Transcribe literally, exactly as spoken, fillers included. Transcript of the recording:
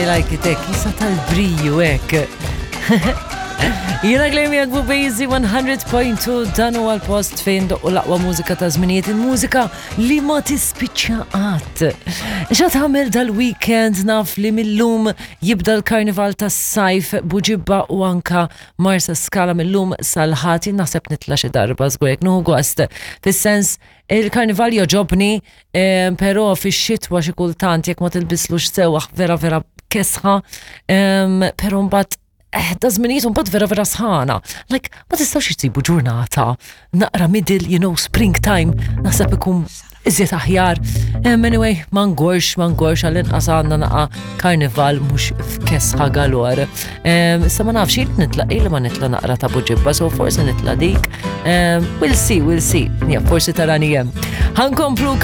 Like it hekk, jisa tal-briju hekk. Jiena Glenn miegħek Bejzi one hundred point two, dan huwa l-post fejn doqqu l-aqwa mużika ta' żminijiet, il-mużika li ma tispiċċa qatt. Xa tagħmel dal-weekend? Naf li mill-lum jibda l-karnival tas-sajf Buġibba u anka Marsa Skala mill-lum sal-Ħadd. Jien naħseb nitla' xi darba żgur jekk nieħu gost. Fis-sens, il-karnival joġobni, eh, però fix-xitwa xi kultant jekk ma tilbislux sewwa vera vera kesħa, em, però mbagħad eh, da żminijiet mbagħad vera vera sħana. Like, ma tistgħux jsibu ġurnata naqra middle, you know, springtime, naħseb ikun iżjed aħjar. Um, anyway, ma ngorx, ma ngorx, għall-inqas għandna naqa karnival mhux f'kesħa galore. Um, Issa ma nafx il nitla' il ma nitla' naqra ta' Buġibba, so forsi nitla' dik. Um, we'll see, we'll see. Ja, forsi tarani hemm. Ħa nkomplu.